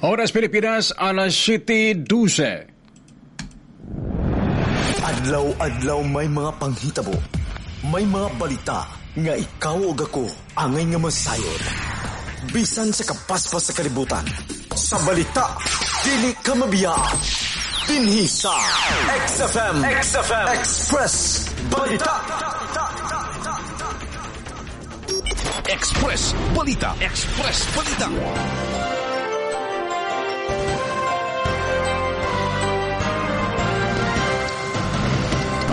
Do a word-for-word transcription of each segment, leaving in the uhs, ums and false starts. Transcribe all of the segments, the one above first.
Oras Pilipinas, alas siyete dose. Adlaw-adlaw may mga panghitabo. May mga balita nga ikaw ug ako angay nga masayod. Bisan sa kapaspas sa kalibutan. Sa balita, dili ka mabiya. Dinhi sa X F M, X F M Express Balita. Express Balita. Express Balita.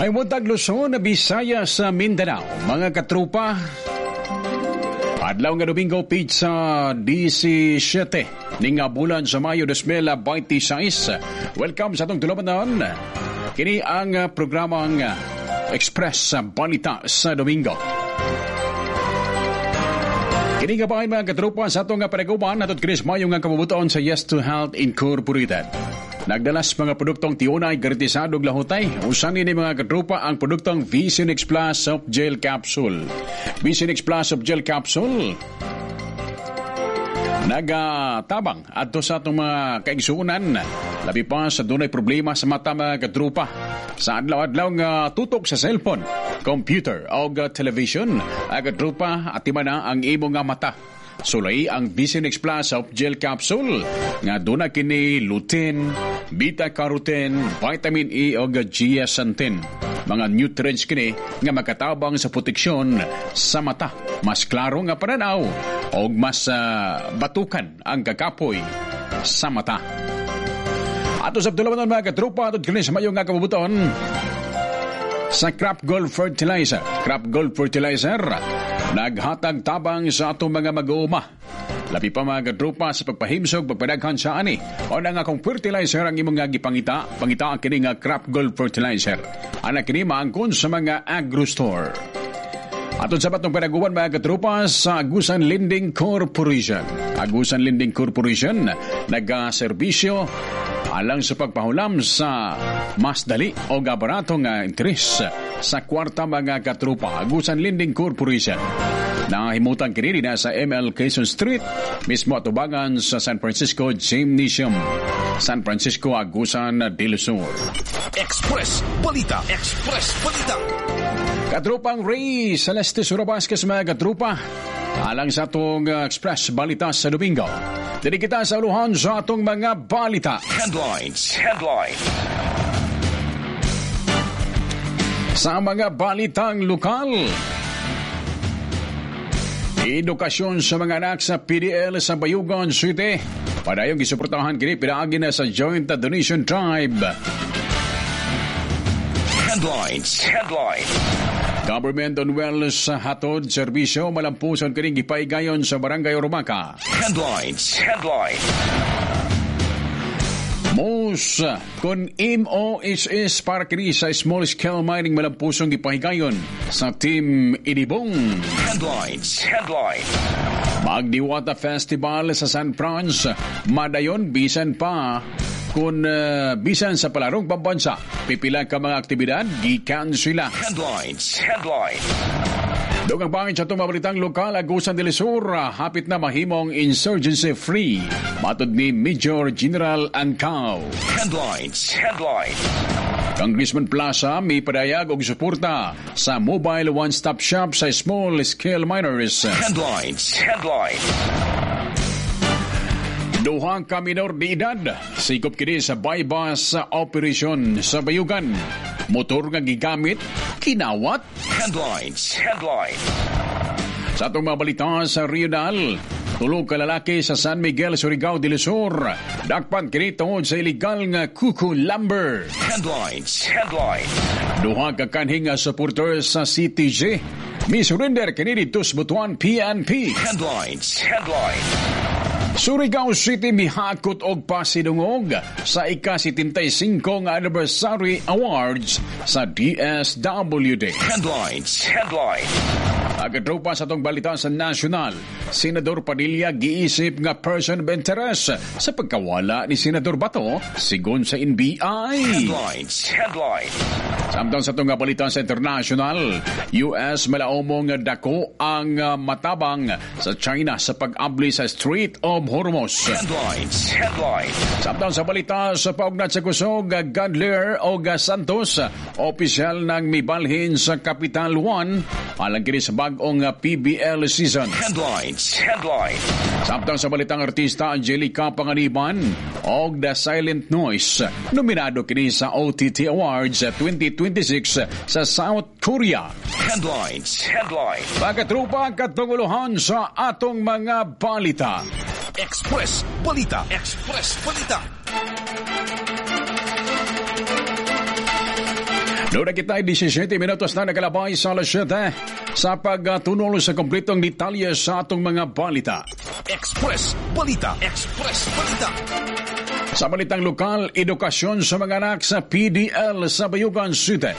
May buntag, Luzon, Bisaya sa Mindanao. Mga katrupa, adlaw nga Domingo, petsa labing siyam ning bulan sa Mayo dalawampu't labing walo. Welcome sa atong tulumanon. Kini ang programang Express Balita sa Domingo. Kini nga bahay, mga katrupa, sa atong panaguban natot kini mayo nga kabubuton sa Yes to Health Incorporated. Nagdalas mga produktong tiunay, garantisado lahutay. Usan ni, mga katrupa, ang produktong Visionix Plus Soft Gel Capsule. Visionix Plus Soft Gel Capsule nagatabang adto sa atong mga kaigsuonan, labi pa sa dunay problema sa mata, mga katrupa, sa adlaw-adlaw nga tutok sa cellphone, computer o television. Ay, katrupa, atiman na ang imong nga mata. Sulay ang Visionix Plus Soft Gel Capsule nga duna kini lutein, beta-carotene, vitamin E o zeaxanthin. Mga nutrients kini nga makatabang sa proteksyon sa mata. Mas klaro nga pananaw o mas uh, batukan ang kakapoy sa mata. Ato sa tulumanon, mga katrupa, ato kini sa mayong nga kabubuton sa Crop Gold Fertilizer. Crop Gold Fertilizer naghatag tabang sa atong mga mag-uuma. Labi pa, mga katrupa, sa pagpahimsog, pagpadaghan sa ani. O na nga kung fertilizer ang imong nga gipangita, pangita ang kini nga Crop Gold Fertilizer. Ana kini maangkon sa mga agro store. Atong sa batong panaguan, mga katrupa, sa Agusan Lending Corporation. Agusan Lending Corporation nagaserbisyo alang sa pagpahulam sa mas dali o barato nga interes sa kwarta, mga katrupa. Agusan Lending Corporation. Nahimutan kini na sa M L Quezon Street, mismo atubangan sa San Francisco Gymnasium, San Francisco, Agusan del Sur. Express Balita. Express Balita. Katrupang Ray Celeste Sura Vasquez, mga katrupa. Alang sa atong uh, Express Balita sa Domingo. Dili kita sa uluhan sa atong mga balita. Headlines. Headline. Sa mga balitang lokal, edukasyon sa mga anak sa P D L sa Bayugan City. Padayong gisuportahan kini pinaagi na sa Joint Donation Drive. Headlines. Headline. Government on Wells sa hatod serbisyo malampuson kini gipaigayon sa Barangay Ormaca. Headlines. Headline. M O S kon M O S S para kini sa small scale mining malampusong gipahigayon sa Team Inibong. Headlines. Headline. Magdiwata Festival sa San Franz madayon bisan pa kung uh, bisan sa palarong pambansa. Pipila ka mga aktibidad gikan sila. Headlines. Headline. Dugang pangin sa itong mabalitang lokal, Agusan del Sur, hapit na mahimong insurgency free. Matod ni Major General Angkao. Headlines. Headline. Congressman Plaza may padayag og suporta sa mobile one-stop shop sa small scale miners. Headlines. Headline. Duha ka minor de edad sikop kini sa buy-bust operation sa Bayugan. Motor nga gigamit kinawat. Headlines. Headline. Sa atong mga balita sa regional, tulo ka lalaki sa San Miguel, Surigao del Sur. Dakpan kini tungod sa illegal nga kuku lumber. Headlines. Headline. Duha ka kanhi nga supporters sa C T G mi surrender kini didto sa Butuan P N P. Headlines. Headline. Surigao City mihakot og pasidungog sa ika-setenta y singko nga Anniversary Awards sa D S W D. Headlines. Headline. Katropa, sa atong balita sa national, Senador Padilla giisip nga person of interest sa pagkawala ni Senador Bato sigon sa N B I. Headlines. Headline. Samtang sa itong balita sa international, U S malaomong dako ang matabang sa China sa pag-abli sa Strait of Hormuz. Headlines. Headlines. Samtang sa balita sa paugnat sa kusog, Gadler o Santos, opisyal ng mibalhin sa Capital One, alang kini sa bag-ong P B L season. Headlines. Headlines. Samtang sa balitang artista, Angelica Panganiban og The Silent Noise, nominado kini sa O T T Awards twenty twenty-six sa South Korea. Headlines. Headlines. Pagkatropa, katunguluhan sa atong mga balita. Express Balita. Express Balita. Doon na kita labing-siyam minutos na nakalabay sa alas siyete sa pagtunol sa kompletong detalye sa atong mga balita. Express Balita. Express Balita. Sa balitang lokal, edukasyon sa mga anak sa P D L sa Bayugan City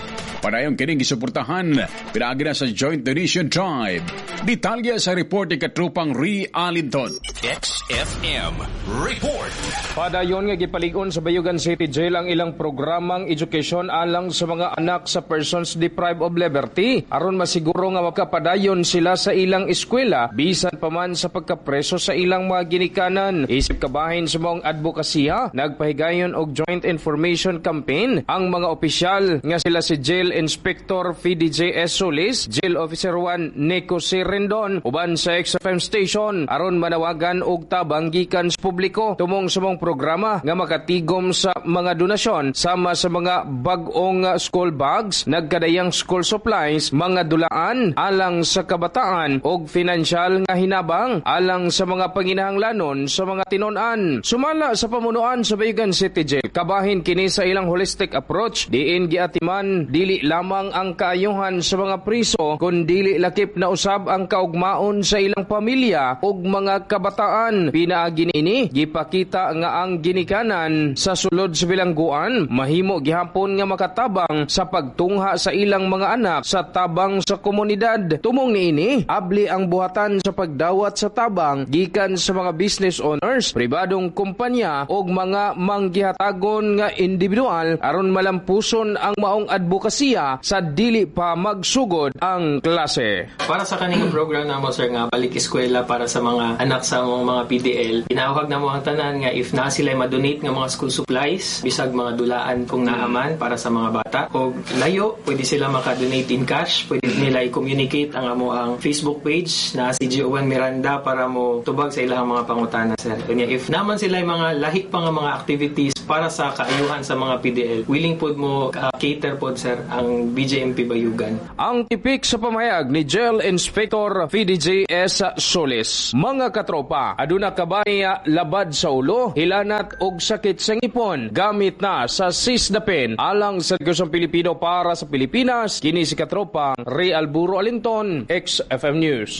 padayon kining gisuportahan pinaagi na sa Joint Donation Drive. Detalye sa report ni katrupang Ri Alinton. X F M Report. Padayon nga gipalig-on sa Bayugan City Jail ang ilang programang edukasyon alang sa mga anak sa persons deprived of liberty aron masiguro nga makapadayon sila sa ilang eskwela bisan pa man sa pagkapreso sa ilang mga ginikanan. Isip kabahin sa maong advokasya, nagpahigayon og joint information campaign ang mga opisyal nga sila si Jail Inspector P D J S Solis, Jail Officer one Nico C. Rendon uban sa X F M station aron manawagan og tabang gikan sa publiko tumong sa maong programa nga makatigom sa mga donasyon sama sa mga bag-ong school bags, nagkadayang school supplies, mga dulaan alang sa kabataan og financial nga hinabang alang sa mga panginahanglanon sa mga tinon-an. Sumala sa pamunuan sa Bayugan City Jail, kabahin kini sa ilang holistic approach diin giatiman dili lamang ang kaayuhan sa mga priso kun dili lakip na usab ang kaugmaon sa ilang pamilya ug mga kabataan. Pinaagi niini, gipakita nga ang ginikanan sa sulod sa bilangguan mahimo gihapon nga makatabang sa pagtungha sa ilang mga anak sa tabang sa komunidad. Tumong niini, abli ang buhatan sa pagdawat sa tabang gikan sa mga business owners, pribadong kumpanya ug mga manggihatagon nga individual aron malampuson ang maong advokasya sa dili pa magsugod ang klase. Para sa kaning program namo, sir, nga balik eskwela para sa mga anak sa among mga P D L, ginahawag namo ang tanan nga if naa sila ma-donate nga mga school supplies, bisag mga dulaan kung naaman para sa mga bata o layo, pwede sila maka-donate in cash, pwede nila i-communicate ang amo ang Facebook page na si G O one Miranda para mo tubag sa ilang mga pangutana, sir. Kanya if naman sila yung mga lahi pa nga mga activities para sa kaayuhan sa mga P D L, willing pod mo uh, cater pod, sir, ang B J M P Bayugan. Ang tipik sa pamahayag ni Jail Inspector P D J S Solis. Mga katropa, aduna kabay labad sa ulo, hilanat og sakit sa ngipon? Gamit na sa Cisdapin. Alang sa Gusong Pilipino para sa Pilipinas, kini si katropa Ray Alburo Alinton, X F M News.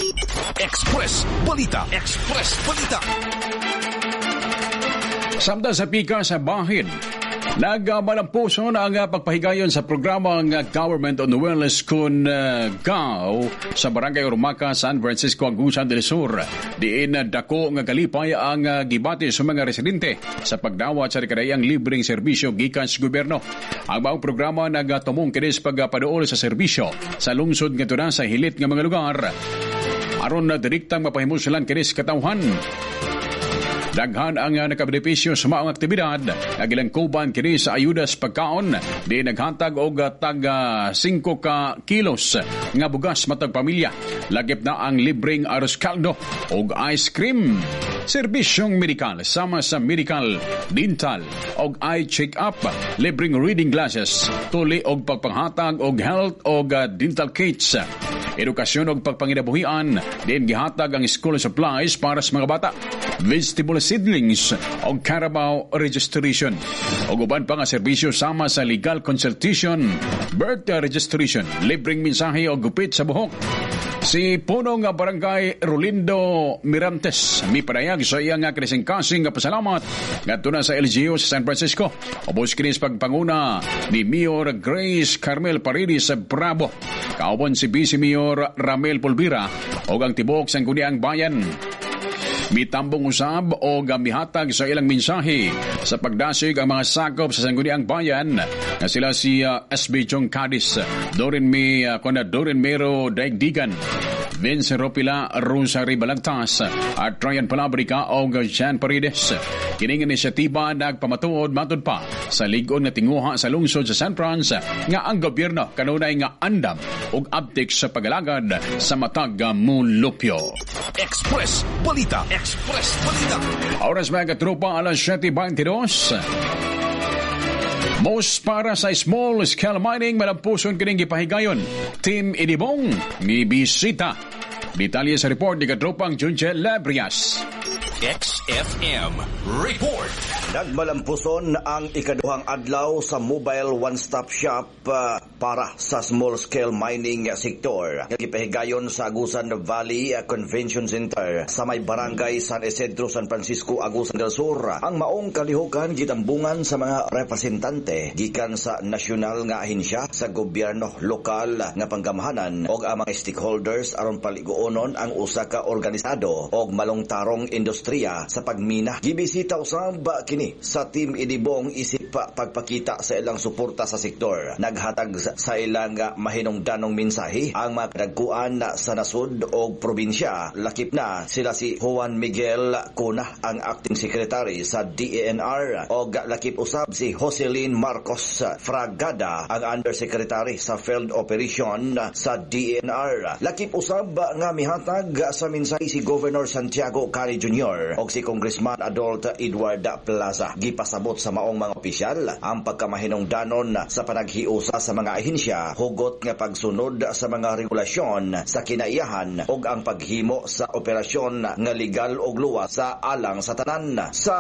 Express Balita. Express Balita. Samtang sa pika sa bahin, nagmalampuson ang pagpahigayon sa programang Government on Wheels kun uh, G O W sa Barangay Urmaca, San Francisco, Agusan del Sur. Diin dako nga kalipay ang gibati sa mga residente sa pagdawat sa kadayang libreng serbisyo gikan sa gobyerno. Ang maong programa nagatumong kini sa pagpaduol sa serbisyo sa lungsod ngadto na sa hilit nga mga lugar aron na direktang mapahimuslan kini sa katawhan. Daghan ang nakabenepisyo sa maong aktibidad nga gilangkuban kini sa ayuda sa pagkaon di naghatag og tag singko ka kilos nga bugas matag pamilya. Lagip na ang libreng arroz caldo og ice cream. Serbisyong medikal sama sa medical, dental og eye check-up, libreng reading glasses, tuli og pagpanghatag og health og dental kits. Edukasyon og pagpanginabuhian, din gihatag ang school supplies para sa mga bata, vegetable seedlings og carabao registration. Og uban pa nga serbisyo sama sa legal consultation, birth registration, libreng mensahe og gupit sa buhok. Si punong barangay Rolindo Mirantes mipadayag sa iyang kasing-kasing nga pasalamat ngadto na sa L G U sa San Francisco. Ubos kini sa pagpanguna ni Mayor Grace Carmel Paredes sa Bravo. Kauban si Vice Mayor Ramel Pulvira ug ang tibuok sa Sangguniang Bayan. Mitambong usab o mihatag sa ilang mensahe sa pagdasig ang mga sakop sa Sangguniang Bayan nga sila si uh, S B Jong Cadiz, Dorin Mi, uh, kuna Dorin Mero Daigdigan, Vince Ropila, Rosary Balagtas, at Ryan Palabrica o Jean Paredes. Kining inisyatiba nagpamatuod matud pa sa lig-on nga tinguha sa lungsod sa San Franz nga ang gobyerno kanunay nga andam ug abtik sa pagalagad sa matag mulupyo. Express Balita. Express Balita. Oras, mga katropa, alas siyete bengtidós. Most para sa small scale mining, malampuson kining gipahigayon. Team Inibong ni bisita. Detalye sa report ni katropang Junche Lebrias. X F M Report. Nagmalampuson ang ikaduhang adlaw sa mobile one-stop shop uh, para sa small-scale mining sector. Gipahigayon sa Agusan Valley Convention Center sa may Barangay San Isidro, San Francisco, Agusan del Sur. Ang maong kalihukan gitambungan sa mga representante gikan sa nasyonal nga ahensya sa gobyerno, lokal nga panggamhanan og ang mga stakeholders aron paliguonon ang usa ka organisado og malungtarong industriya sa pagmina. Gibisita usab kini sa Team Inibong isip pagpakita sa ilang suporta sa sektor. Naghatag sa ilang mahinungdanong mensahe ang mga kadagkuan sa nasud og probinsya. Lakip na sila si Juan Miguel Cuna, ang acting secretary sa D E N R, og lakip usab si Jocelyn Marcos Fragada, ang undersecretary sa field operation sa D E N R. Lakip usab nga mihatag sa mensahe si Governor Santiago Cali Junior og si Congressman Adult Edward Plaza. Gipasabot sa maong mga opisyal ang pagkamahinungdanon sa panaghiusa sa mga ahensya, hugot nga pagsunod sa mga regulasyon sa kinaiyahan ug ang paghimo sa operasyon nga legal ug luwas sa alang sa tanan. Sa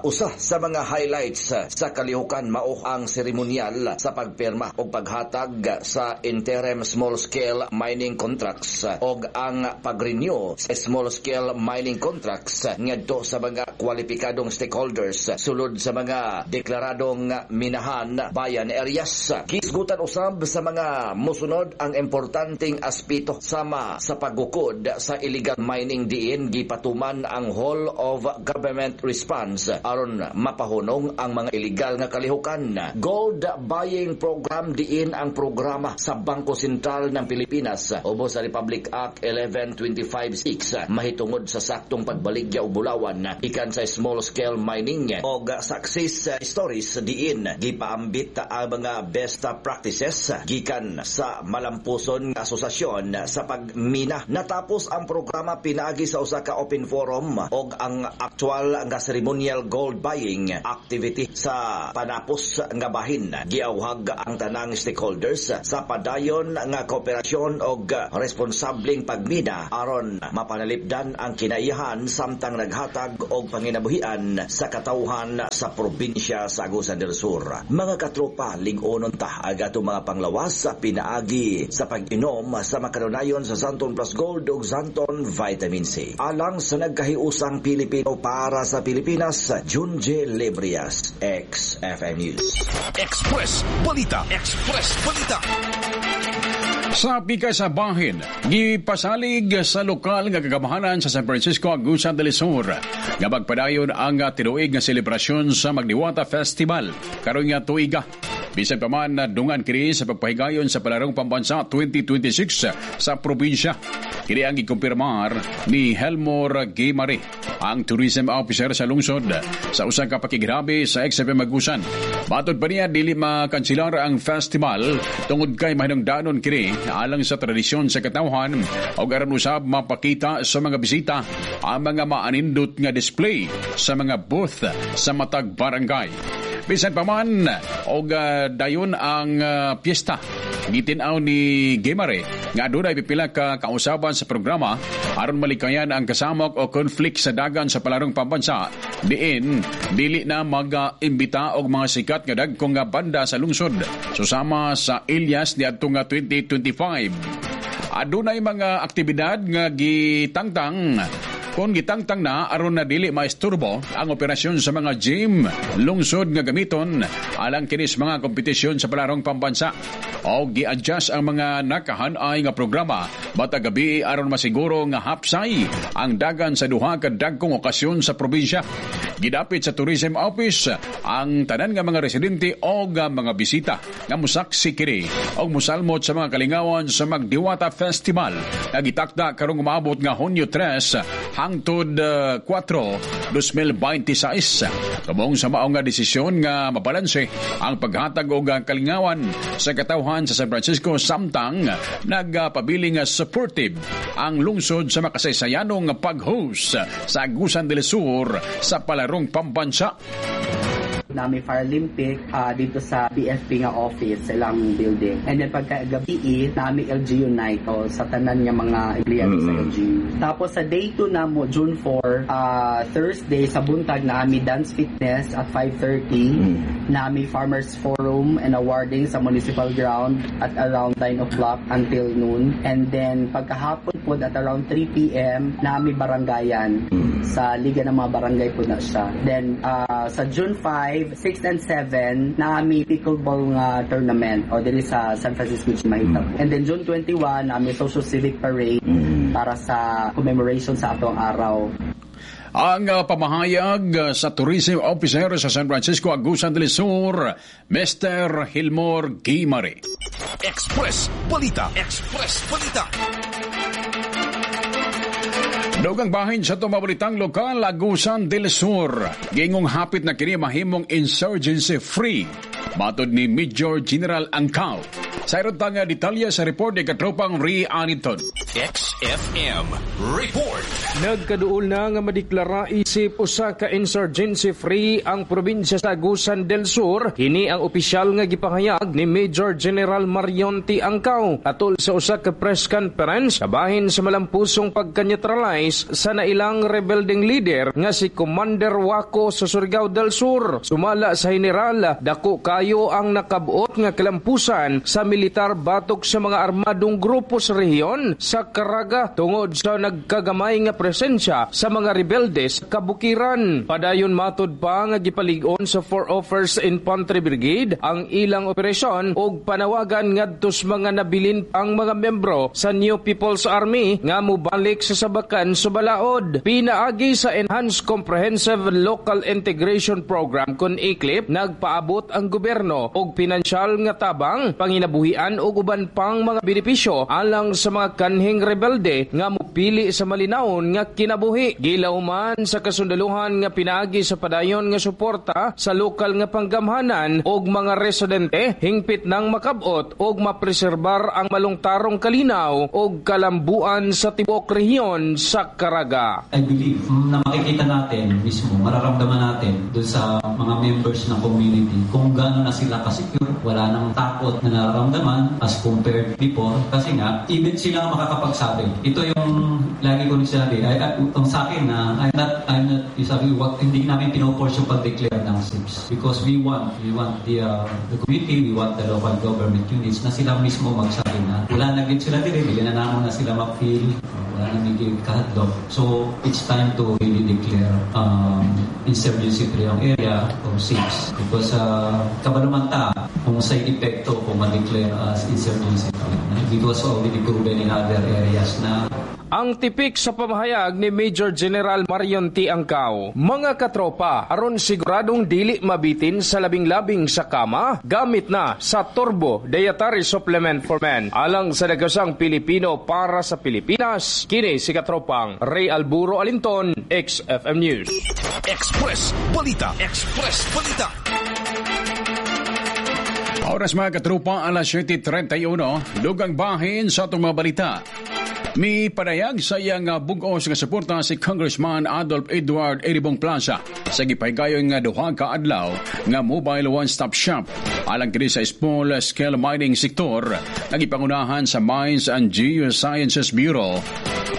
usa sa mga highlights sa kalihukan, mao ang seremonyal sa pagpirma ug paghatag sa interim small scale mining contracts ug ang pag-renew sa small scale mining contracts ngadto sa mga kwalipikadong stakeholders sulod sa mga deklaradong minahan bayan areas. Gisgutan usab sa mga musunod ang importanteng aspeto sama sa paggukod sa illegal mining, diin gipatuman ang whole of government response aron mapahunong ang mga illegal nga kalihukan. Gold buying program, diin ang programa sa Bangko Sentral ng Pilipinas ubos sa Republic Act one one two five six mahitungod sa saktong pagbaligya og bulawan ikan sa small scale mining og success stories, diin gipaambit ang mga best practices gikan sa Malampuson nga asosasyon sa pagmina. Natapos ang programa pinaagi sa usa ka open forum og ang actual nga ceremonial gold buying activity sa panapos nga bahin. Giawhag ang tanang stakeholders sa padayon nga kooperasyon og responsableng pagmina aron mapanalipdan ang kinaiyahan samtang naghatag og panginabuhian sa katawhan sa probinsya sa Agusan del Sur. Mga katropa, lig-onon ta ang atong mga panglawas sa pinaagi sa pag-inom sa makanunayon sa Xanthone Plus Gold ug Xanthone Vitamin C. Alang sa nagkahiusang Pilipino para sa Pilipinas, Junje Librias, X F M News. Express Balita. Express Balita. Sa pika sa bahin, gipasalig sa lokal nga kagamhanan sa San Francisco, Agusan del Sur nga magpadayon ang tinuig nga selebrasyon sa Magdiwata Festival karon nga tuiga. Bisan pa man dungan kini sa pagpahigayon sa Palarong Pambansa twenty twenty-six sa probinsya. Kini ang gikumpirmar ni Helmor Gimari, ang tourism officer sa lungsod, sa usa ka pakighirabi sa X F M Agusan. Matod pa niya, dili makansilar ang festival tungod kay mahinungdanon kini alang sa tradisyon sa katawhan o aron usab mapakita sa mga bisita ang mga maanindot nga display sa mga booth sa matag barangay. Bisan pa man og uh, dayon ang uh, piyesta, gitin-aw ni Gemare nga adunay pipila ka kausaban sa programa aron malikayan ang kasamok o conflict sa dagan sa Palarong Pambansa, diin dili na mag-imbita og mga sikat nga dagkong nga banda sa lungsod susama sa Elias niadtong nga twenty twenty-five. Adunay mga aktibidad nga gitangtang Kung gitangtang na aron na dili maisturbo ang operasyon sa mga gym, lungsod nga gamiton alang kini sa mga kompetisyon sa palarong pambansa. O gi-adjust ang mga nakahanay nga programa matag gabi aron masiguro nga hapsay ang dagan sa duha ka dagkong okasyon sa probinsya. Gidapit sa Tourism Office ang tanan nga mga residente o mga bisita nga musaksi kini og musalmot sa mga kalingawan sa Magdiwata Festival nga gitakda karong umaabot nga Hunyo tres hangtod uh, kuwatro, dos mil beinte sais. Tumong sa mao nga desisyon nga mabalanse ang paghatag og kalingawan sa katawhan sa San Francisco samtang nagpabiling supportive ang lungsod sa makasaysayanong pag-host sa Agusan del Sur sa palarong pambansa. Nami Fire Olympic uh, dito sa B F P nga office sa ilang building. And then pagka gabi, nami L G U night o sa tanan nga mga empleyado mm-hmm. sa L G U. Tapos sa day two namo, June four, uh, Thursday sa buntag, nami dance fitness at five thirty. Mm-hmm. Nami Farmers Forum and awarding sa municipal ground at around nine o'clock until noon. And then pagkahapon po at around three p m nami barangayan mm-hmm. sa Liga ng mga Barangay po na siya. Then uh, sa June five, six and seven nami pickleball nga tournament o diri sa San Francisco mahitabo. Mm. And then June twenty-one nami social civic parade mm. para sa commemoration sa atong araw. Ang uh, pamahayag uh, sa Tourism Officer sa San Francisco, Agusan del Sur, Mister Hilmor Guimari. Express Balita. Express Balita. Dugang bahin sa tumabalitang lokal, Agusan del Sur. Gingong hapit na kini mahimong insurgency free. Matod ni Major General Angkaw. Sa iron nga detalye sa report ni katropang Ri Aniton. X F M Report. Nagkaduol na nga madeklara isip usa ka insurgency free ang probinsya sa Agusan del Sur. Kini ang opisyal nga gipahayag ni Major General Marion T. Angkaw atol sa usa ka press conference kabahin sa malampusong pagka-neutralize sa nailang rebelding leader nga si Commander Wako sa Surigao del Sur. Sumala sa general, dako kayo ang nakabuot nga kalampusan sa militar batok sa mga armadong grupo sa rehiyon sa Caraga tungod sa nagkagamay nga presensya sa mga rebelde sa kabukiran. Padayon, matod pa nga gipalig-on sa four oh first Infantry Brigade ang ilang operasyon og panawagan ngadto sa mga nabilin pang mga membro sa New People's Army nga mobalik sa sabakan sa balaod. Pinaagi sa Enhanced Comprehensive Local Integration Program kon ICLIP, nagpaabot ang gobyerno og pinansyal nga tabang, panginabuhian ug uban pang mga benepisyo alang sa mga kanhing rebelde nga mopili sa malinawon nga kinabuhi. Gilawman sa kasundaluhan nga pinaagi sa padayon nga suporta sa lokal nga panggamhanan og mga residente, hingpit nang makabot og mapreserbar ang malungtarong kalinaw og kalambuan sa tibuok rehiyon sa Caraga. I believe na makikita natin mismo, mararamdaman natin doon sa mga members ng community kung gaano na sila ka-secure, wala nang takot na nararamdaman as compared before. Kasi nga, even sila ang makakapagsabi. Ito yung lagi ko sinabi, ay, ay, itong sa akin na I'm not, I'm not, sabi, what, hindi namin pinoforce yung pag-declare ng SIPs because we want, we want the, uh, the community, we want the local government units na sila mismo magsabi na wala na gid sila dire, dili na namo na sila ma-feel, wala na may kahadlok. So, it's time to really declare um, insurgency free ang area o SIPs because uh, kabalo man ta kung sa epekto kung ma-declare as insurgency free. It was already proven in other areas na. Ang tipik sa pamahayag ni Major General Marion T. Angkaw. Mga katropa, aron siguradong dili mabitin sa labing-labing sa kama, gamit na sa Turbo Dietary Supplement for Men. Alang sa dagasang Pilipino para sa Pilipinas, kini si katropang Ray Alburo Alinton, X F M News. Express Balita. Express Balita. Oras, mga katropa, alas siyete trenta y uno, dugang bahin sa atong mga balita. Mi padayag sa iyang bugos nga suporta si Congressman Adolf Edward Eribong Plaza sa gipahigayon nga duha ka adlaw nga mobile one-stop shop alang kini sa small scale mining sektor nga gipangunahan sa Mines and Geosciences Bureau.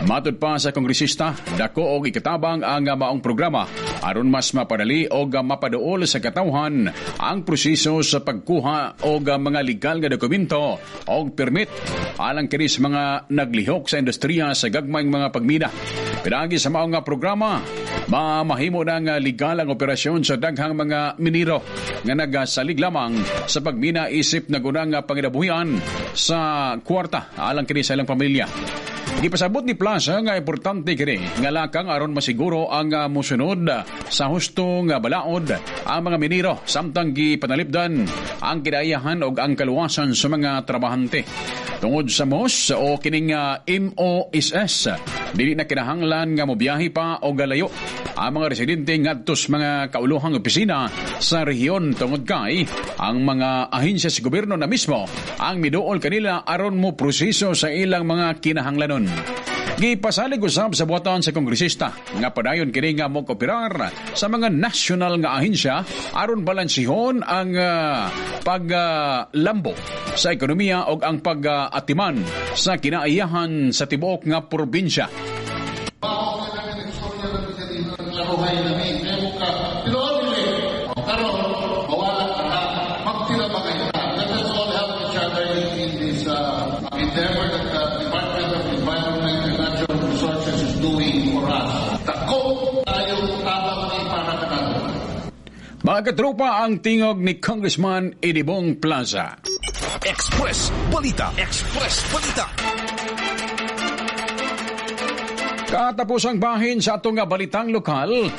Matod pa sa kongresista, dako og ikatabang ang maong programa aron mas mapadali og mapaduol sa katawhan ang proseso sa pagkuha og mga legal nga dokumento og permit alang kini sa mga naglihok sa industriya sa gagmayng mga pagmina. Pinagi sa mao nga programa, mamahimo na nga legal ang operasyon sa daghang mga minero nga nagasalig lamang sa pagmina isip naguna nga panginabuhian sa kwarta alang kini sa ilang pamilya. Gipasabot ni Plaza nga importante kini nga lakang aron masiguro ang uh, mosunod sa husto nga balaod ang mga minero samtang gipanalipdan ang kinaiyahan og ang kaluwasan sa mga trabahante. Tungod sa M O S o kining uh, M O S S, dili na kinahanglan nga mobiyahe pa o galayo ang mga residente ngadto sa mga kauluhang opisina sa rehiyon tungod kay ang mga ahensya sa gobyerno na mismo ang miduol kanila aron mo proseso sa ilang mga kinahanglanon. Gipasalig usab sa buhaton sa kongresista nga padayon kini nga mo kooperar sa mga nasyonal nga ahensya aron balansihon ang uh, paglambo uh, sa ekonomiya ug ang pag-atiman sa kinaiyahan sa tibuok nga probinsya. Laruhay namin. Pero karon mawala ka na, magtinabangay ka. Let us all help each other in this uh, endeavor that the Department of Environment and Natural Resources is doing for us. Dako tayo tabang ni para kanado. Mga katropa, ang tingog ni Congressman Edibong Plaza. Express Balita. Express Balita. Katapusang bahin sa atong balitang lokal,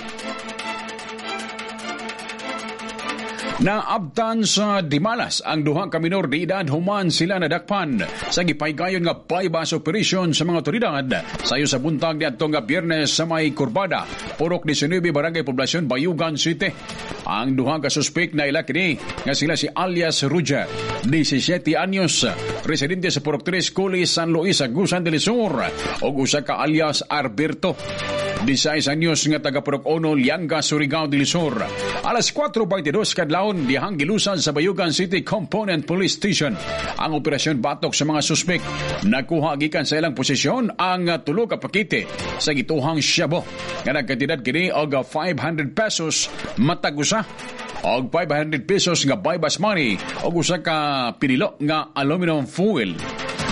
naabtan sa Dimalas ang duha ka minor de edad human sila nadakpan sa gipaygayon nga bypass operation sa mga otoridad sayo sa buntag niadtong nga Biyernes sa may Kurbada, Purok labing-walo, Barangay Poblacion, Bayugan City. Ang duha ka suspek na ila kini nga sila si alias Roger, labing-siyete anyos, residente sa Purok tres, Culi, San Luis, Agusan del Sur, ug usa ka alias Alberto, labing sais anyos nga taga Purok uno, Lianga, Surigao del Sur. Alas kwatro beinte dos kadlawon dihang gilusan sa Bayugan City Component Police Station ang operasyon batok sa mga suspek. Nakuha gikan sa ilang posisyon ang tulo ka pakete sa gituhang shabu nga nagkantidad kini og five hundred pesos matag usa og five hundred pesos nga buy-bust money og usa ka pinilo nga aluminum foil.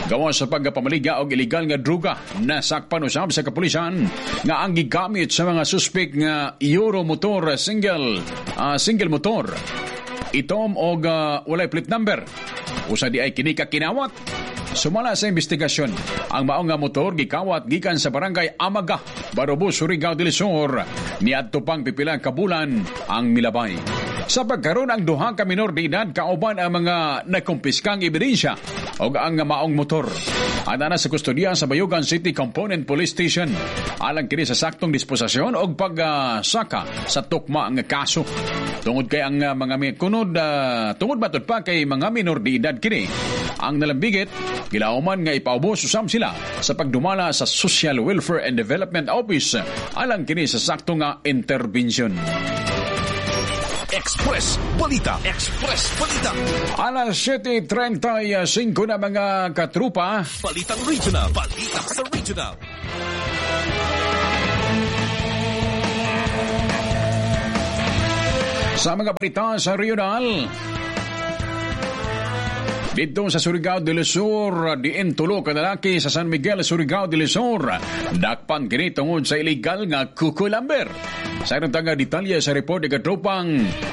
Gawa sa pagpamaligya og illegal nga druga, nasakpan usab sa kapulisan nga ang gigamit sa mga suspek nga Euro motor single uh, single motor itom og uh, walay plate number. Usa di ay kini ka kinawat. Sumala sa investigasyon, ang maong nga motor gikawat gikan sa Barangay Amaga, Barobo, Surigao del Sur. Niadto pang pipila ka bulan ang milabay. Sa pagkaron, ang duha ka minor de edad kauban ang mga nakumpiskang ebidensya og ang maong motor ana sa kustodiya sa Bayugan City Component Police Station alang kini sa saktong disposisyon og pagsaka sa tukma nga kaso. Tungod kay ang mga kunod uh, tungod matud pa kay mga minor de edad kini ang nalambigit, gilauman nga ipaubos usab sila sa pagdumala sa Social Welfare and Development Office alang kini sa sakto nga intervention. Express Balita. Express Balita. Alas siyete trenta y singko na, mga katrupa. Balitang Regional. Balita sa Regional. Sa mga balita sa regional, dito sa Surigao del Sur, diin tulo ka lalaki sa San Miguel, Surigao del Sur, dakpan kini tungod sa illegal nga cucumber. Sa ilang tanga detalye sa report ni katropang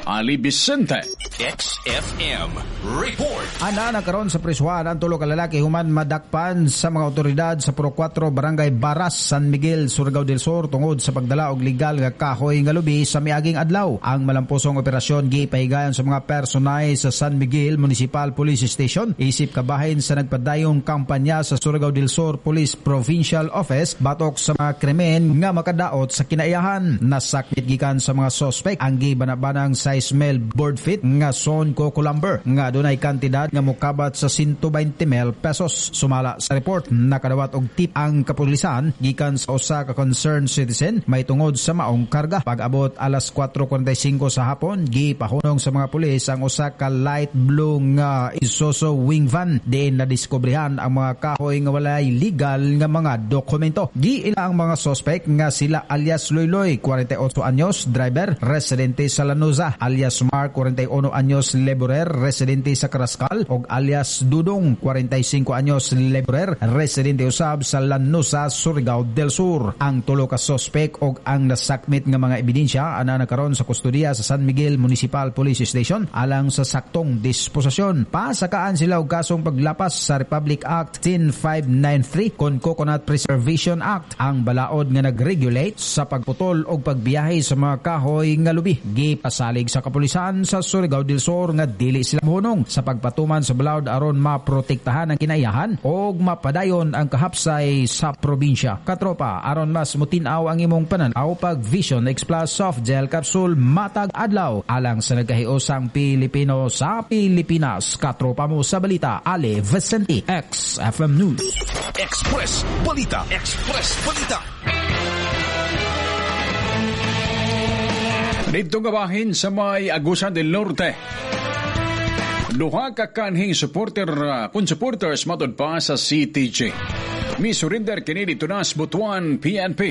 Ali Vicente. X F M Report. Ana na karon sa prisuhan ang tulo ka lalaki human madakpan sa mga otoridad sa Purok kwatro, Barangay Baras, San Miguel, Surigao del Sur tungod sa pagdala og legal nga kahoy nga lubi sa miaging adlaw. Ang malamposong operasyon gipahigayon sa mga personay sa San Miguel Municipal Police Station isip kabahin sa nagpadayong kampanya sa Surigao del Sur Police Provincial Office batok sa mga krimen nga makadaot sa kinaiyahan. Nasakmit gikan sa mga suspect ang gibanabanang size mil board feet nga sawn coco lumber nga dunay kantidad nga mokabat sa one hundred twenty mil pesos. Sumala sa report, nakadawat og tip ang kapulisan gikan sa usa ka concerned citizen may tungod sa maong karga. Pag-abot alas kwatro kwarenta y singko sa hapon, gipahunong sa mga pulis ang usa ka light blue nga Isuzu wing van diin nadiskobrehan ang mga kahoy nga walay legal nga mga dokumento. Giila ang mga suspect nga sila alias Loyloy, forty-eight treinta y ocho anyos, driver, residente sa Lanuza, alias Mark, cuarenta y uno anyos, laborer, residente sa Carrascal, og alias Dudong, cuarenta y cinco anyos, laborer, residente usab sa Lanuza, Surigao del Sur. Ang tulo ka suspect og ang nasakmit nga mga ebidensya ana na karon sa kustodiya sa San Miguel Municipal Police Station alang sa saktong disposisyon. Pasakaan sila og kasong paglapas sa Republic Act ten thousand five hundred ninety-three kon Coconut Preservation Act, ang balaod nga nag-regulate sa pagputol og pagbiyahe sa mga kahoy nga lubi. Gipasalig sa kapulisan sa Surigao del Sur nga dili sila mohunong sa pagpatuman sa balaod aron maprotektahan ang kinaiyahan og mapadayon ang kahapsay sa probinsya. Katropa, aron mas mutin-aw ang imong pananaw, pag Vision X Plus Soft Gel Capsule matag adlaw alang sa nagkahiusang Pilipino sa Pilipinas. Katropa mo sa balita, Ale Vicente, X F M News. Express Balita. Express Balita. Dito nga bahin sa may Agusan del Norte, duha ka kanhing supporter uh, kun supporters matud pa sa C T G mi surrender kini dito na sa Butuan P N P.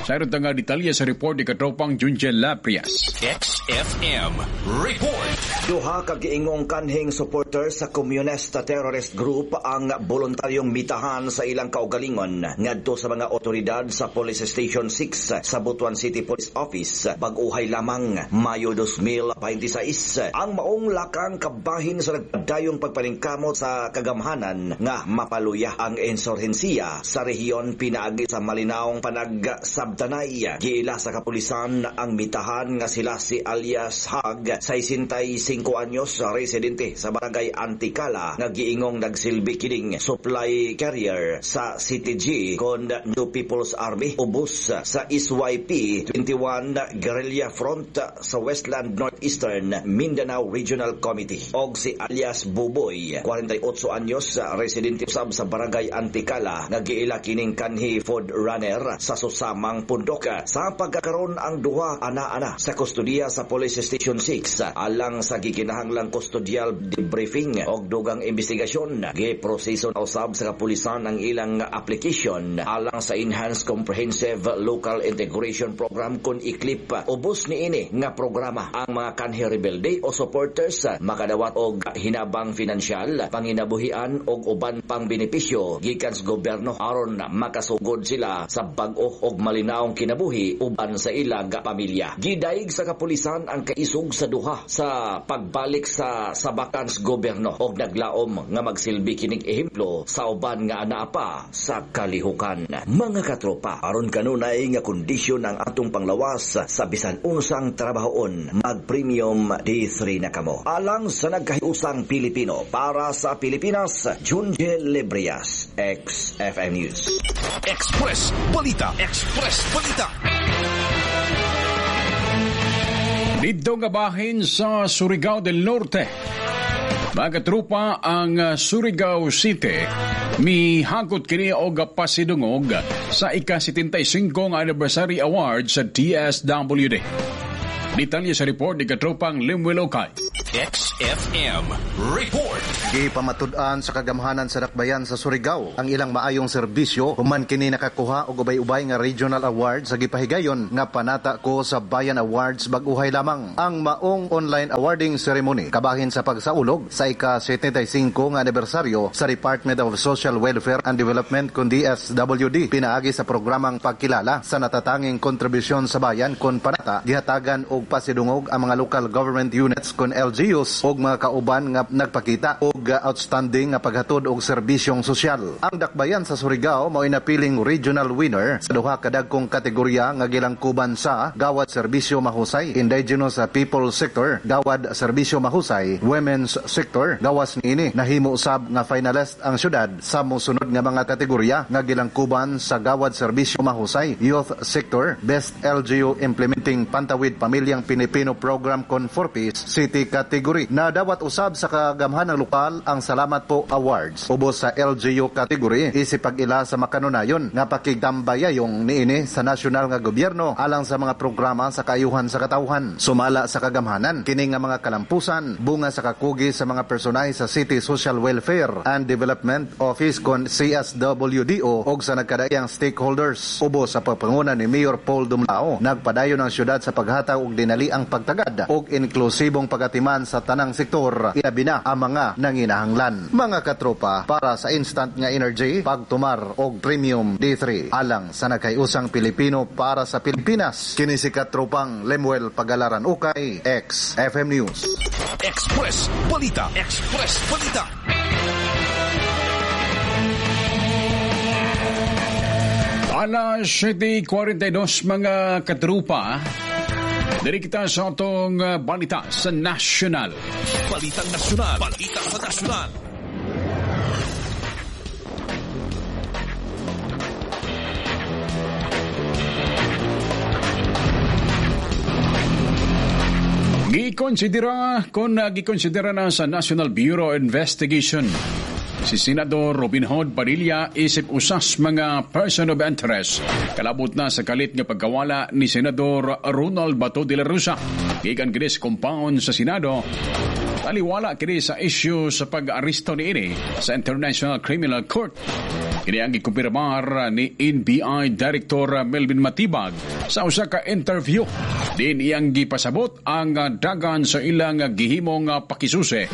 Sa nga detalye sa report ni katropang Junjel Laprias. X F M Report. Duha ka giingong kanhing supporter sa Communist Terrorist Group ang voluntaryong mitahan sa ilang kaugalingon ngadto sa mga otoridad sa Police Station six sa Butuan City Police Office bag-uhay lamang, Mayo twenty twenty-six. Ang maong lakang kabahin sa nagpadayong pagpaningkamot sa kagamhanan nga mapaluya ang insurhensiya sa rehiyon pinaagi sa malinawong panagsabtanay. Giila sa kapulisan ang mitahan nga sila si alias Hag, sesenta y cinco anyos, residente sa barangay Anticala, nga giingong nagsilbi kining supply carrier sa C T G kon New People's Army ubos sa S Y P twenty-one Guerrilla Front sa Westland Northeastern Mindanao Regional Committee, og si alias Buboy, forty-eight anyos, residente usab sa barangay Anticala, nga giila kining kanhi food runner sa Susamang Pundok. Sa pagkakaron, ang duha ana-ana sa kustodiya sa Police Station six alang sa gikinahanglang custodial debriefing og dugang investigasyon. Giproseso na usab sa kapulisan ang ilang application alang sa Enhanced Comprehensive Local Integration Program kon ECLIP. Ubos niini nga programa, ang mga kanhi rebelde o supporters makadawat og hinabang finansyal, panginabuhian og uban pang benepisyo gikan sa gobyerno aron makasugod sila sa bag-o og malinawong kinabuhi uban sa ilang pamilya. Gidayeg sa kapulisan ang kaisog sa duha sa pagbalik sa sabakan sa gobyerno og naglaom nga magsilbi kining ehemplo sa uban nga anaa pa sa kalihukan. Mga katropa, aron kanunay nga kondisyon ang atong panglawas sa bisan unsang trabahoon, mag-Premium D three na kamo. Alang sa nagkahiusang Pilipino para sa Pilipinas, Junjel Lebrias, X F M News. Express Balita. Express Balita. Dito nga bahin sa Surigao del Norte. Mga trupa, ang uh, Surigao City mihagot kini og pasidungog sa ika-setenta y singko nga Anniversary Award sa D S W D. Detalye sa report ni katropang Limwell Okay. X F M Report. Gipamatud-an sa kagamhanan sa Dakbayan sa Surigao ang ilang maayong serbisyo human kini nakakuha og ubay-ubay nga regional award sa gipahigayon nga Panata ko sa Bayan Awards bag-uhay lamang. Ang maong online awarding ceremony kabahin sa pagsaulog sa ika-setenta y singko nga anibersaryo sa Department of Social Welfare and Development kun D S W D, pinaagi sa programang pagkilala sa natatanging kontribusyon sa bayan kon Panata, gihatagan og pasidungog ang mga local government units kon L G Us og mga kauban nga nagpakita og outstanding nga paghatod og serbisyong sosyal. Ang Dakbayan sa Surigao mao'y napiling regional winner sa duha ka dagkong kategorya nga gilangkuban sa Gawad Serbisyo Mahusay Indigenous People Sector, Gawad Serbisyo Mahusay Women's Sector. Gawas niini, nahimo usab nga finalist ang syudad sa mosunod nga mga kategorya nga gilangkuban sa Gawad Serbisyo Mahusay Youth Sector, Best L G U Implementing Pantawid Pamilyang Pilipino Program kon four Ps City Category. category. Nadawat usab sa kagamhanang lokal ang Salamat Po Awards. Ubos sa L G U category isip pag-ila sa makanunayon nga pakigtambayayong niini sa nasyonal nga gobyerno alang sa mga programa sa kaayuhan sa katawhan. Sumala sa kagamhanan kini nga mga kalampusan bunga sa kakugi sa mga personahe sa City Social Welfare and Development Office kon C S W D O og sa nagkadaiyang stakeholders. Ubos sa pagpanguna ni Mayor Paul Dumlao, nagpadayon ang syudad sa paghatag og dinaliang pagtagad og inklusibong pagatiman sa tanang sektor, ilabi na ang mga nanginahanglan. Mga katropa, para sa instant nga energy, pagtumar og Premium D three alang sa nagkayusang Pilipino para sa Pilipinas. Kini si katropang Lemuel Pagalaran Ukay, X F M News. Express Balita. Express Balita. Alas siyete kuwarenta y dos mga katrupa. Diri kita sa atong balita sa nasyonal. Balitang nasyonal. Balita sa nasyonal. Gikonsidera kon gikonsidera na sa National Bureau of Investigation si Senador Robin Hood Padilla isip usas mga person of interest kalabot na sa kalit nga pagkawala ni Senador Ronald Bato de la Rosa. Gikan kini sa compound sa Senado, taliwala kini sa issue sa pag-aresto niini sa International Criminal Court. Kini ang gikumpirmar ni N B I Director Melvin Matibag sa usa ka interview. Din iyang gipasabot ang dagan sa ilang gihimong pakisusi.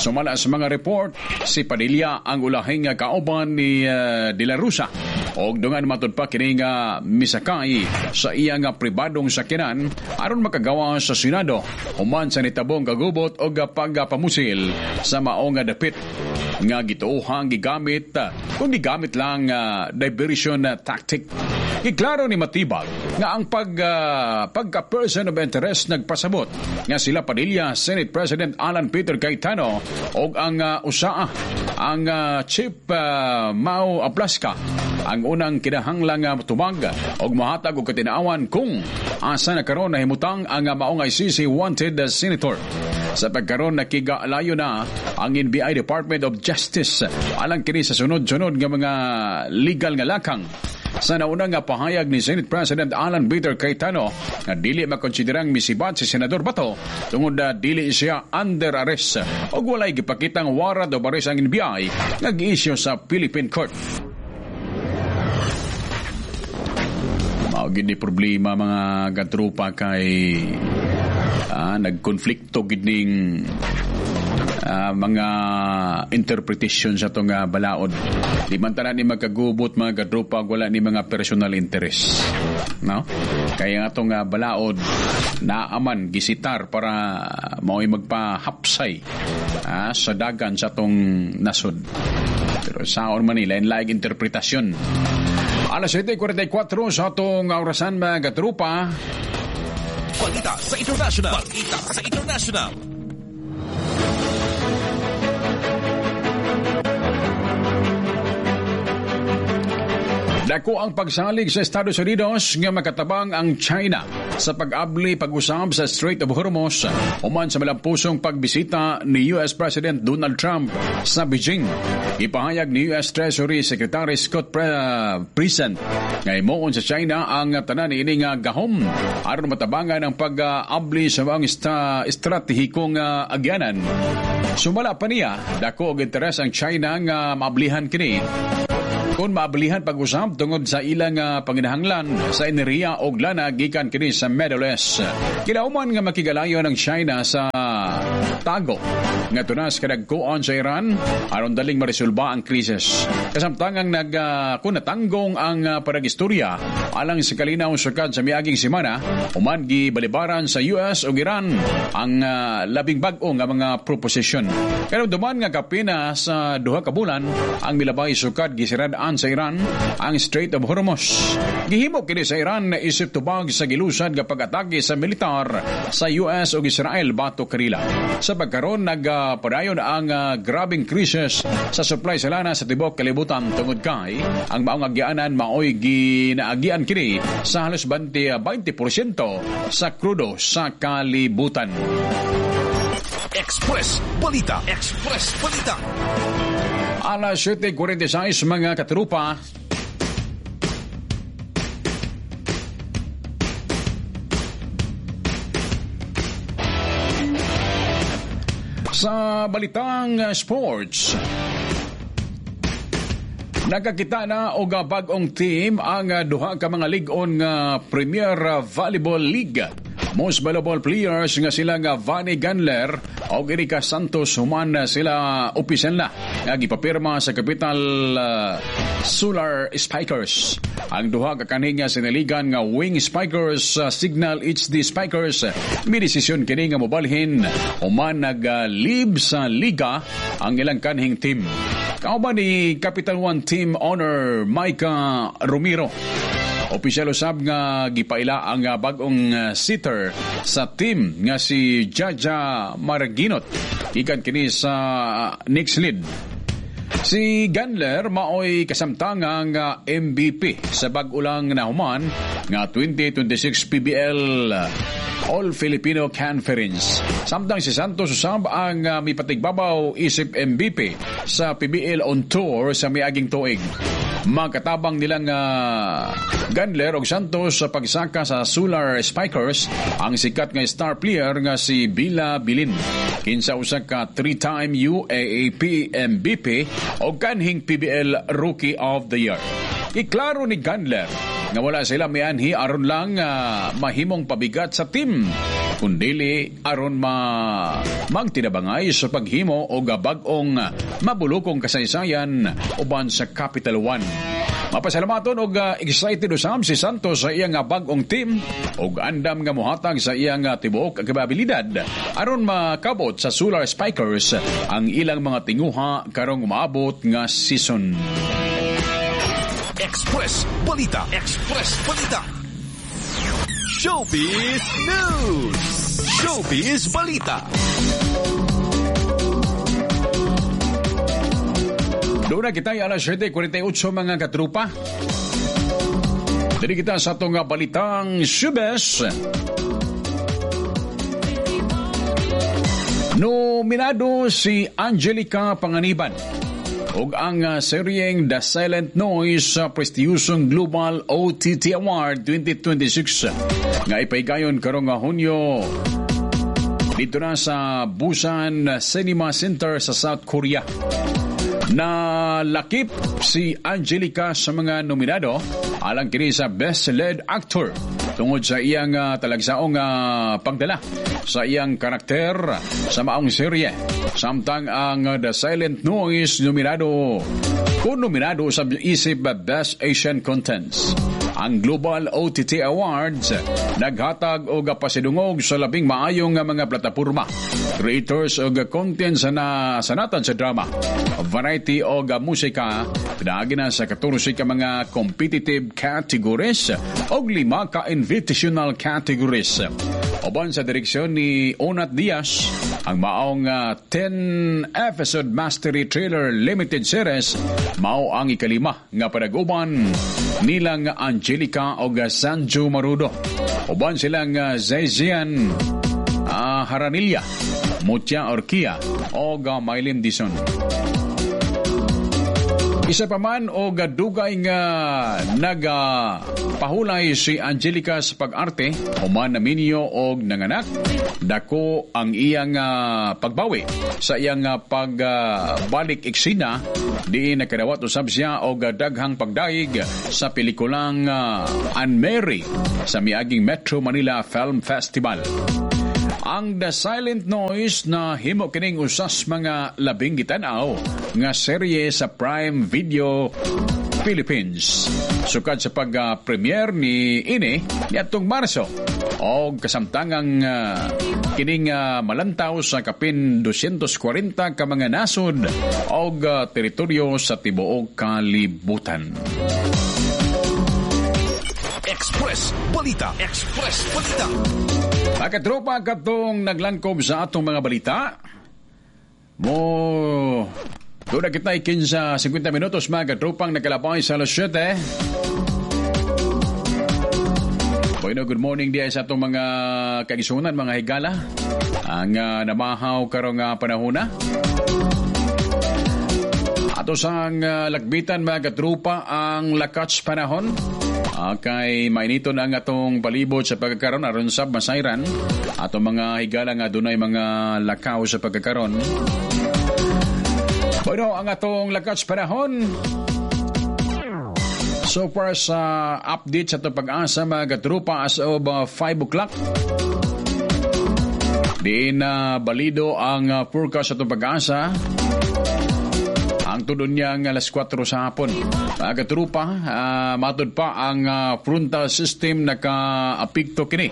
Sumala sa mga report, si Padilla ang ulahing kauban ni uh, De La Rosa. Og dungan matud pa kini nga misakay sa iyang pribadong sakyanan aron makagawa sa Senado human sa nitabong kagubot og pagpamusil sa maong dapit nga gituohang gigamit kung gigamit lang uh, diversion tactic. Giklaro ni Matibag nga ang pag, uh, pagka-person of interest nagpasabot nga sila Padilla, Senate President Alan Peter Cayetano og ang uh, U S A A, ang uh, Chief uh, Mao Aplaska ang unang kinahanglang uh, tubag og mohatag og katinaawan kung asa na karon nahimutang ang uh, maong I C C wanted uh, senator. Sa pagkaron nakigalayo na ang N B I Department of Justice alang kini sa sunod-sunod nga mga legal nga lakang. Sa nauna nga pahayag ni Senate President Alan Peter Cayetano nga dili makonsiderang misibat si Senador Bato tungod na dili siya under arrest og walay gipakitang warrant of arrest ang N B I nga gi-issue sa Philippine Court. Mao gid ni problema mga katropa kay ah, nagkonflikto gid ning Uh, mga interpretation sa itong uh, balaod. Di man tanan ni magkagubot mga kadrupa, wala ni mga personal interest. No? Kaya nga itong uh, balaod naaman gisitar para mao'y magpahapsay uh, sa dagan sa itong nasod. Pero saon man nila, lain interpretasyon. Alas siete cuarenta y cuatro sa itong orasan mga kadrupa. Balita sa International. Balita sa International. Dako ang pagsalig sa Estados Unidos nga makatabang ang China sa pag-abli pag-usab sa Strait of Hormuz human sa malampusong pagbisita ni U S President Donald Trump sa Beijing. Ipahayag ni U S Treasury Secretary Scott Bessent nga himuon sa China ang tanan niini nga gahom aron matabangan ang pag-abli sa mga esta- estratehikong agyanan. Sumala pa niya, dako og interes ang China nga maablihan kini kung maabilihan pag-usab tungod sa ilang uh, panginahanglan sa enerhiya og lana gikan kini sa Middle East. Kilauman nga makigalayo ng China sa tago nga tunas kadagkuon sa Iran aron daling maresolba ang krisis. Kasamtangang nag uh, kunatanggong ang uh, paragistorya alang sa kalinaw sukad sa miaging semana human gibalibaran sa U S ug Iran ang uh, labing bag-o nga mga proposisyon. Pero duman nga kapina sa duha ka bulan ang milabay sukad gisirad-an sa Iran ang Strait of Hormuz. Gihimo kini sa Iran na isip tubag sa gilusad nga pag-atake sa militar sa U S ug Israel batok kanila. Sa pagkaron nagpadayon ang uh, grabeng krisis sa supply sa lana sa tibuok kalibutan tungod kay ang maong agianan maoy ginaagian kini sa halos twenty porsyento sa krudo sa kalibutan. Express Balita. Express Balita. Alas siyete kuwarenta y sais, mga katrupa. Sa balitang sports, nakakita na og bag-ong team ang duha ka mga lig-on nga Premier Volleyball League Most Valuable Players nga sila nga Vanie Gandler o Erika Santos human sila opisyal na nga gipapirma sa Capital uh, Solar Spikers. Ang duha ka kanhi nga sinaligan nga Wing Spikers, uh, Cignal H D Spikers, may desisyon kini nga mobalhin human nag-leave sa liga ang ilang kanhing team. Kauban ni Capital One team owner Micah Romero, opisyal usab nga gipaila ang bag-ong setter sa team nga si Jaja Marginot, gikan kini sa Nxled. Si Gandler maoy kasamtangang M V P sa bag-o lang nahuman nga twenty twenty-six P V L All Filipino Conference. Samtang si Santos usab ang uh, mipatigbabaw isip M V P sa P V L on Tour sa miaging tuig. Makatabang nilang uh, Gandler og Santos sa pagsaka sa Solar Spikers ang sikat nga star player nga si Bela Belen, kinsa usa ka three-time U A A P M V P o kanhing P V L Rookie of the Year. Iklaro ni Gandler nga wala sila mianhi aron lang uh, mahimong pabigat sa team, kundili aron ma magtinabangay sa paghimo og bag-ong mabulukong kasaysayan uban sa Capital One. Mapasalamaton og uh, excited usab si Santos sa iyang bag-ong team ug andam nga mohatag sa iyang tibuok kapabilidad aron makabot sa Solar Spikers ang ilang mga tinguha karong umaabot nga season. Express Balita. Express Balita. Showbiz News. Showbiz Balita. Doon na kita alas siyete kuwarenta y otso, mga katrupa. Diri kita sa atong balitang showbiz. Nominado si Angelica Panganiban ug ang uh, seryeng The Silent Noise sa prestiyosong Global O T T Award twenty twenty-six nga ipahigayon karong Hunyo dito na sa Busan Cinema Center sa South Korea. Nalakip si Angelica sa mga nominado alang kini sa Best Lead Actor tungod sa iyang uh, talagsaong uh, pagdala sa iyang karakter sa maong serye. Samtang ang uh, The Silent Noise nominado kung nominado sa isip Best Asian Contents. Ang Global O T T Awards naghatag og pasidungog sa labing maayong mga plataporma, creators og content sa na sanatan sa drama, variety og musika, pinaagi na sa katorse ka mga competitive categories og lima ka invitational categories. Uban sa direksyon ni Onat Diaz, ang maong uh, ten episode mastery trailer limited series mao ang ikalima nga panag-uban nilang Angelica og Zanjoe Marudo. Uban silang uh, Zaijian uh, Jaranilla, Mutya Orquia og uh, Mylene Dizon. Isa pa man og dugay nga nagapahulay si Angelica sa pag-arte, human naminyo og nanganak, dako ang iyang uh, pagbawi sa iyang uh, pagbalik uh, eksena, diin nakadawat usab siya og daghang pagdayeg sa pelikulang uh, Unmarry sa miaging Metro Manila Film Festival. Ang The Silent Noise na himo kining usas mga labing gitanaw nga serye sa Prime Video Philippines. Sukad sa pag-premiere ni ini niadtong Marso og kasamtangang uh, kining uh, malantaw sa kapin dosyentos kwarenta ka mga nasod og uh, teritoryo sa tibuok kalibutan. Express Balita. Express Balita. Mga katropa, katong naglangkob sa atong mga balita, mo doon na kita kinse singkwenta minutos, mga katropang nakalabay sa alas siyete. Bueno, good morning diya sa atong mga kaigsuonan, mga higala. Ang uh, namahaw karong uh, panahona. Ato sang uh, lakbitan, mga katrupa, ang lakats panahon. Uh, kay mainiton ang atong palibot sa pagkakaron aron sab masayran atong mga higala nga dunay mga lakaw sa pagkakaron. Bueno, ang atong lakats panahon so far sa update sa atong Pag-asa, mga katrupa, as of uh, five o'clock. Diin na uh, balido ang uh, forecast sa atong Pag-asa. Ang tudon niya ang alas kwatro sa hapon. Mga katrupa, uh, matod pa ang uh, frontal system naka-apekto kini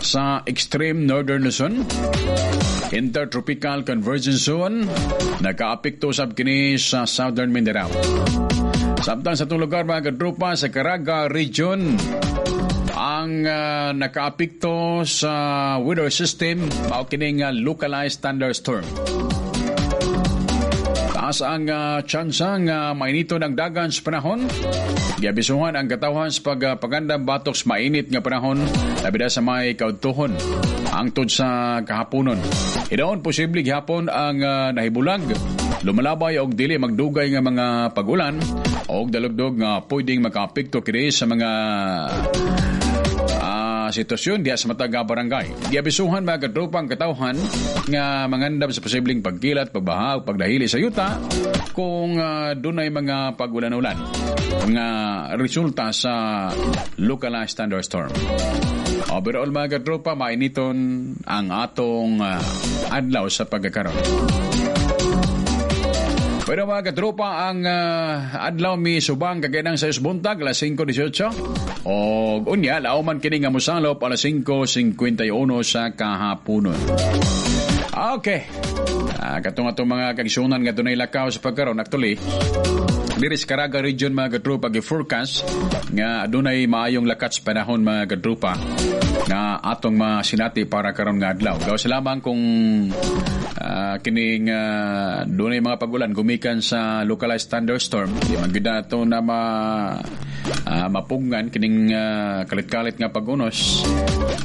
sa extreme northern Luzon. Intertropical Convergence Zone nakaapekto sab kini sa southern Mindanao. Samtang sa itong lugar, mga katrupa, sa Caraga Region, ang uh, nakaapekto sa weather system mao kining uh, localized thunderstorm. Taas ang uh, tsansa nga uh, mainito ng dagan sa panahon. Giabisuhan ang katawhan sa pagpagandam batok sa mainit nga panahon, labi na sa may kaudtuhon hangtod sa kahaponon. Hidaon posible gihapon ang uh, nahibulag, lumalabay og dili magdugay nga mga pag-ulan og dalugdog nga pwedeng makaapekto kini sa mga uh, sitwasyon diha sa matag barangay. Giabisuhan, mga katropang katawhan, nga mangandam sa posibleng pagkilat, pagbaha ug pagdahili sa yuta kung uh, dunay mga pag-ulan-ulan nga resulta sa localized thunderstorm. Overall, mga katropa, mainiton ang atong uh, adlaw sa pagkakaron. Pero mga katropa, ang uh, adlaw mi subang kagayanang sa buntag, alas singko diesiocho. O unya, lauman kini nga mosalop alas singko singkwenta y uno sa kahaponon. Okay. Uh, katong atong mga kaigsuonan nga dunay lakaw sa pagkaron, actually, diri sa Caraga Region, mga katropa, gi-forecast nga adunay maayong lakats panahon, mga katropa, nga atong masinati para karon nga adlaw. Gawas lamang kung uh, kining uh, dunay mga pagulan gumikan sa localized thunderstorm, di man gyud nato na ma uh, mapugngan kining uh, kalit-kalit nga pag-unos.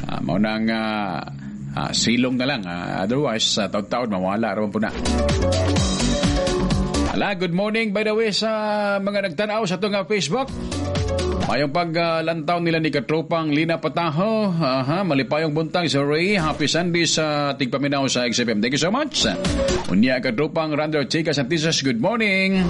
Uh, mao na nga uh, silong na lang. Uh, otherwise, sa uh, taud-taud mawala ra po na. Ala, good morning by the way sa mga nagtanaw sa atong Facebook. Mayong paglantaw nila ni Katropang Lina Pataho. Aha, malipayong buntag sa Ray. Happy Sunday sa tigpaminaw sa X F M. Thank you so much. Unya Katropang Rander Chica Santisas, good morning.